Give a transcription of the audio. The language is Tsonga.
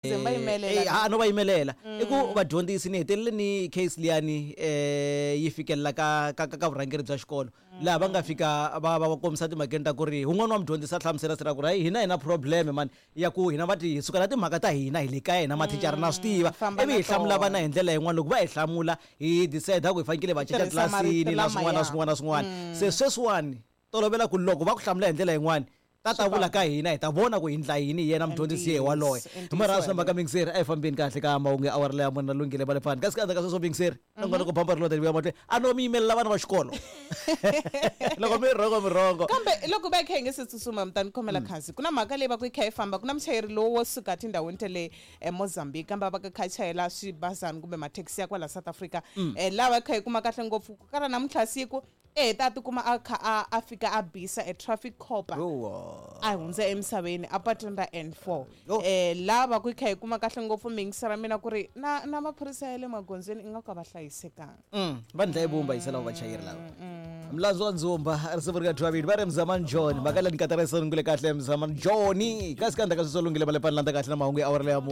Ze va yimelela. Eh, ha no va yimelela i ku vadyondzisi ni hetelele ni case liyani yi fikelela ka ka ka ka vurhangeri bya xikolo laha va nga fika va va va kombisa timhakeni ta ku ri wun'wana wa mudyondzisi a hlamusela sira ku ri hayi hina hi na problem mani ya ku hina va ti hi suka na timhaka ta hina hi le kaya hina mathicara na swi tiva Famba ivi na hi hlamula tona. vana hi ndlela yin'wana loko va hi hlamula hi decide ku hi fanekele va cinca Tirhisa marito tlilasini na swin'wana na lamaya. swin'wana na swin'wana se sweswiwani tolovela ku loko va ku hlamula hi ndlela yin'wana ta ta vula ka hina hi ta vona ku hi ndla yini hi yena mudyondzisi ye waloye Ntiyiso, hi marha swi na weleyo. mhaka mingiseri a hi fambeni kahle ka mahungu ya awara leya mona lunghile va le fani kasi ka endzhaku ka sweswo mingiseri nongonoko bamba ri lota vuya mahlweni a no mi yimelela vana va xikolo loko mi rhongo mi rhongo Kambe loko va yi kha yi nge se tsutsuma, mi ta ni khomela khansi. Ku na mhaka leyi va ku yi kha yi famba, ku na muchayeri lowu wo suka tindhawini ta le eMozambique, kambe va ka kha chayela swibazana kumbe mathekisi ya kwala South Africa. Laha va kha yi kuma kahle ngopfu ku kala namuntlha siku e heta a tikuma a kha a fika a bisa e traffic cop a hundza emisaveni a patwini ra N4. Yo. Laha va ku yi kha yi kuma kahle ngopfu mingisa ra mina ku ri na maphorisa ya le magondzweni ingaku a va hlayisekanga. Va ndla vumba yisa lava vachayeri lava mlandzu wa ndzumba risimu ri nga dyiwa va ri mzamani John mhaka leyi ni katarisa lungile kahle mzamani John kasi ka ndzhaku ka sweswo lunghile va le pani landza kahle na mahungu ya awara leya mune.